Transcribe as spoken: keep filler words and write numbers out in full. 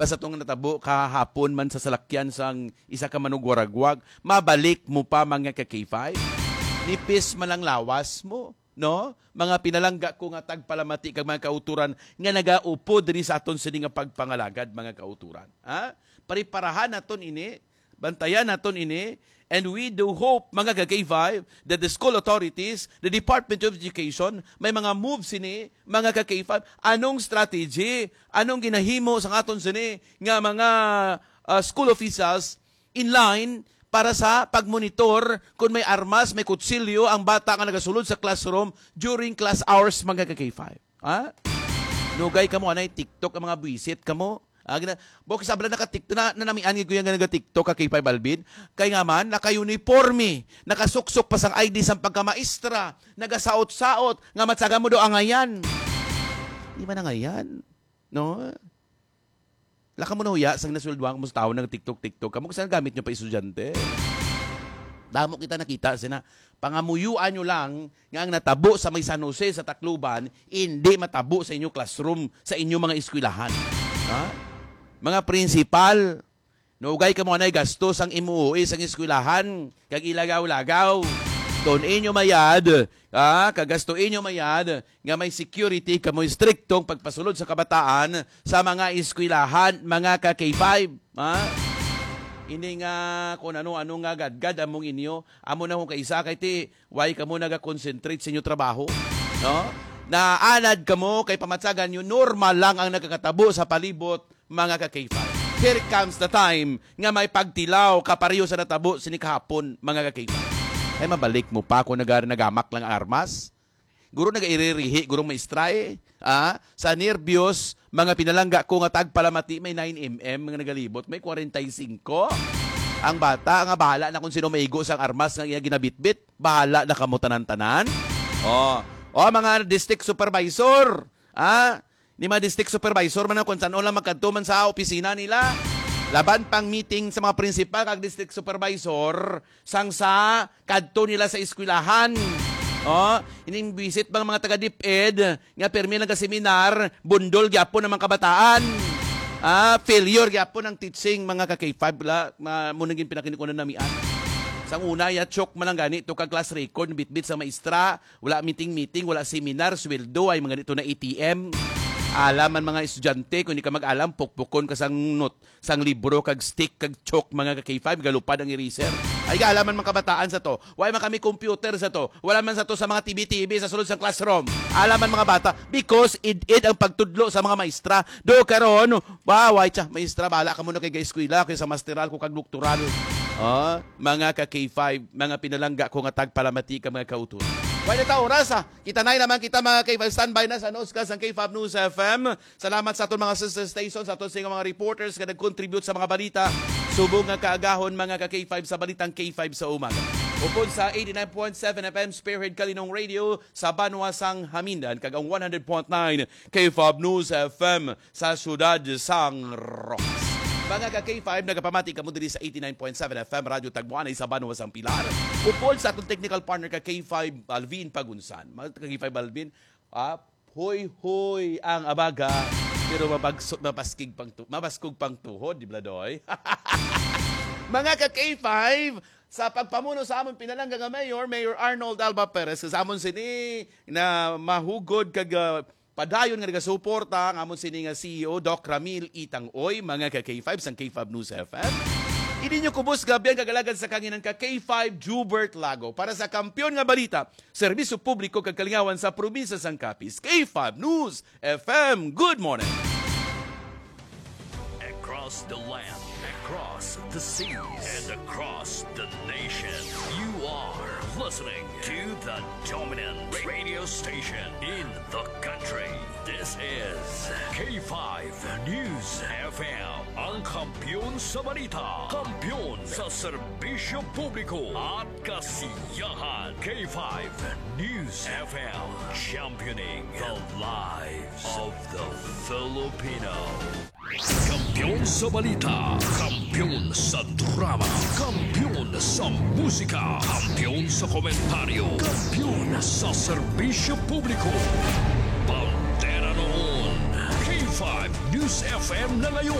sa tong natabo kahapon man sa salakyan sang isa ka manugwaragwag, mabalik mo pa, mga ka K five? Nipis man ang lawas mo, no? Mga pinalangga ko nga tagpalamati kag mga kauturan nga nagaupod diri sa aton sini nga pagpangalagad, mga kauturan. Ha? Preparahan naton ini, bantayan naton ini, and we do hope, mga ka K five, that the school authorities, the Department of Education, may mga moves sini, mga ka K five. Anong strategy? Anong ginahimo sa aton sini nga mga, ah, school officials in line para sa pagmonitor kung may armas, may kutsilyo ang bata nga nagasulod sa classroom during class hours, mga ka K five? Ha? Nugay kamo, anay TikTok ang mga buwisit kamo. Ah, gina-, bukis abla naka-TikTok, na, nanamian gid ko yan nga naga-TikTok ka K five Alvin. Kay nga man, naka-uniforme, nakasuksok pa sang I D sang pagkamaestra, nagasaot-saot, nga matsaga mo do angayan. Di man angayan, no? Laka mo na huya, sang nasweldohan mo sa tao nag-TikTok-TikTok. Kamo, saan gamit nyo pa estudyante? Damo kita nakita, sina, pangamuyuan nyo lang nga ang natabo sa may San Jose sa Tacloban, hindi matabo sa inyo classroom, sa inyo mga eskwelahan. Ha? Mga prinsipal, nugay kamo anay gasto sang M O E sang eskwelahan, kag ilagaw-lagaw. Tun-i nyo mayad, ah, kag gasto inyo mayad, nga may security kamo, striktong pagpasulod sa kabataan sa mga eskwelahan, mga ka K five, ha? Ini nga kung ano-ano nga gadgad among inyo, amo na kung kaisa kay ti, why kamo naga-concentrate sa inyo trabaho, no? Naanad kamo kay pamatsagan nyo, normal lang ang nagakatabo sa palibot, mga ka K five. Here comes the time nga may pagtilaw kapareho sa natabo sini kahapon, mga ka K five. Ay, mabalik mo pa kung naga-, nagamak lang ang armas? Guro, nagairirihi, gurong maestra, eh. Ah, sa nerbyos, mga pinalangga ko nga tagpalamati, may nine M M nga nagalibot, may forty-five. Ang bata nga bahala na kung sino maigo sang armas nga iya ginabitbit, bahala na kamo tanan-tanan. Oh, oh, mga district supervisor, ah, ni mga district supervisor man, kung san-o lang magkadto man sa opisina nila. Laban pang meeting sa mga principal kag district supervisor, sang sa kadto nila sa eskwelahan. Oh, ining visit bang mga taga DepEd nga permi nagka-seminar, bundol gyapon ang mga kabataan. Ah, failure gyapon ang teaching, mga ka K five, la, ma-, mo naging pinakinikunan namian. Sang una, ya, chok man lang gani to ka class record, bitbit sa maestra, wala meeting-meeting, wala seminar, sweldo, ay mga dito na A T M. Alam man mga estudyante, kung di ka mag-alam, pukpukon ka sang not-, sang libro kag stick kag chalk, mga ka K five, galupad ang eraser. Ay, gaalaman mga kabataan sa to. Why man kami computer sa to? Wala man sa to sa mga T V T V sa sulod sang classroom. Alaman mga bata, because id-id ang pagtudlo sa mga maestra. Do karon, ba, why cha, maestra, bala ka muna kay eskwela, kay sa masteral ko kag doktoral. Ah, mga ka K five, mga pinalangga ko nga tagpalamati ka, mga kauturan. Wala ta oras, ah. Kita na naman kita, mga K five. Standby na sa Newscast ng K five News F M. Salamat sa aton mga sister stations, sa aton sa mga reporters nga nag-contribute sa mga balita. Subong nga kaagahon, mga ka K five, sa balitang K five sa umaga. Upod sa eighty-nine point seven F M Spearhead Kalinong Radio sa banwa sang Hamindan, kag ang one hundred point nine K five News F M sa siyudad sang Roxas. Mga ka K five, nagapamati kamo diri sa eighty-nine point seven F M Radyo Tagwanay sa banwa sang Pilar. Upod sa aton technical partner ka K five Alvin Pagunsan. Mga ka K five Alvin, ah, hoy-hoy ang abaga, pero mabagso-, mabaskig pang tu-, mabaskog pang tuhod, di ba, Doy? Mga ka K five, sa pagpamuno sa amon pinalangga nga mayor, Mayor Arnold Alba Perez, sa amon sini na mahugod kag, ah, padayon nga nagasuporta ang amon sini nga C E O, Doc Ramil Itang Oy, mga ka K five sang K five News F M. Ini nyo kubos nga abyan kag alagad sa kanginan ka K five, Jubert Lago, para sa Kampiyon nga Balita, Serbisyo Publiko kag Kalingawan sa Probinsya sang Capiz, K five News F M. Good morning. Across the land, across the seas, and across the nation, you are listening to the dominant radio station in the country. This is K five News F M, ang kampiyon sa balita, kampiyon sa serbisyo publiko at kasiyahan. K five News F M, championing the lives of the Filipino. Kampiyon sa balita, kampiyon sa drama, kampiyon sa musika, kampiyon sa komentaryo, kampiyon sa serbisyo publiko. Bandera noon, K five News F M na ngayon.